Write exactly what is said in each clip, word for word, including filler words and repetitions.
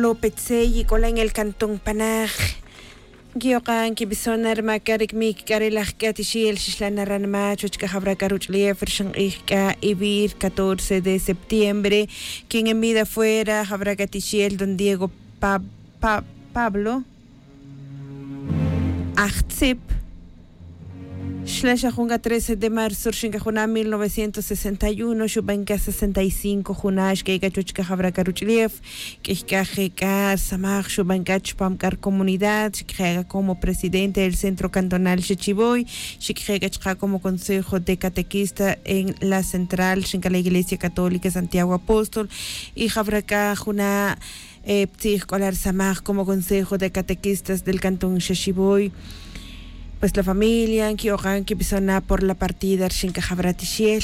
Lopetsey y k'ola en el cantón panaj. Nkiyokan kibison na rma c'a ri cmic c'a re laj c'a tixiel xixlan na ranma chuwech c'a jawra c'a ruch'ulef rixin k'ij c'a ivir catorce de septiembre. Quien en vida fuera jawra c'a tixiel don diego pablo ajtzip. Xla xa jun c'a trece de marzo rixin c'a juna' mil novecientos sesenta y uno xuban c'a sesenta y cinco juna' xc'e' c'a chuwech c'a jawra c'a ruch'ulef. Q'uiy c'a je' c'a rsamaj xuban c'a chupam c'a ri comunidad xic' je' c'a como presidente del centro cantonal xechivoy. Xic' je' c'a chaka' como consejo de catequista en la central rixin c'a la iglesia católica santiago apóstol. Y jawra c'a juna' ptzij c'o la rsamaj como consejo de catequistas del cantón xexivoy. Pues la familia nqui'okan quibison na por la partida rixin c'a jawra tixiel.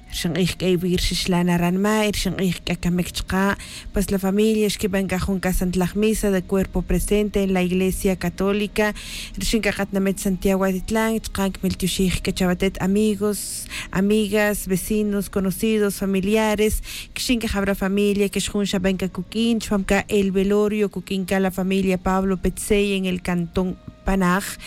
Rixin k'ij c'a ivir xixlan na ranma y rixin k'ij c'a camic chaka'. Pues la familia xquiban c'a jun c'a santlaj misa de cuerpo presente en la iglesia católica rixin c'a katinamit santiago atitlan chaka' nquimiltioxij c'a chawatet amigos, amigas, vecinos, conocidos, familiares. Quixin c'a jawra familia quix jun xaban c'a cuq'uin chupam c'a el velorio cuq'uin c'a la familia pablo petsey en el cantón panaj.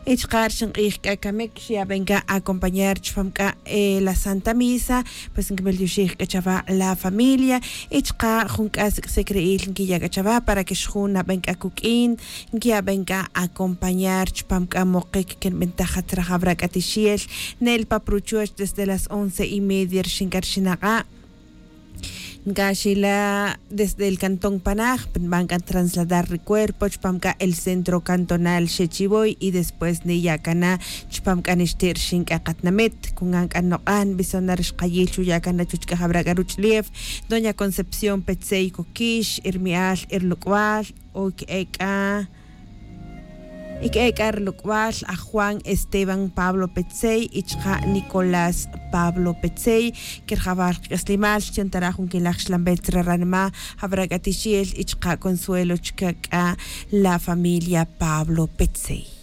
Y chaka' rixin k'ij c'a camic xiyaben c'a acompañar chupam c'a la santa misa. Pues nquimiltioxij c'a chawa' la familia y chaka' jun c'a sic'sic ri'il nquiya' c'a chawa' para que xjun naben c'a cuq'uin. Nquiyaben c'a acompañar chupam c'a mokic que nbintaj c'a tzra jawra c'a tixiel. Nel pa pa ruchuoch desde las once y media rixin c'a rixin ak'a'. Ncaxila desde el cantón panaj nban c'a trasladar ri cuerpo chupam c'a el centro cantonal xechivoy y después niya' c'a na chupam c'a nixti' rixin c'a katinamit cungan c'a nok'an nbison na ri xkayil xuya' c'a na chuwech c'a jawra c'a ruch'ulef. Doña concepción petsey coquix irmi'al irloc'wal o que'e c'a. Y que'e c'a ri loc'wal aj juan esteban pablo petsey y chaka' nicolás pablo petsey. Querjawal kac'aslimal xchon ta ra' jun quilaj xlanbel tzra ranma jawra c'a tixiel y chaka' consuelo chaka' c'a la familia pablo petsey.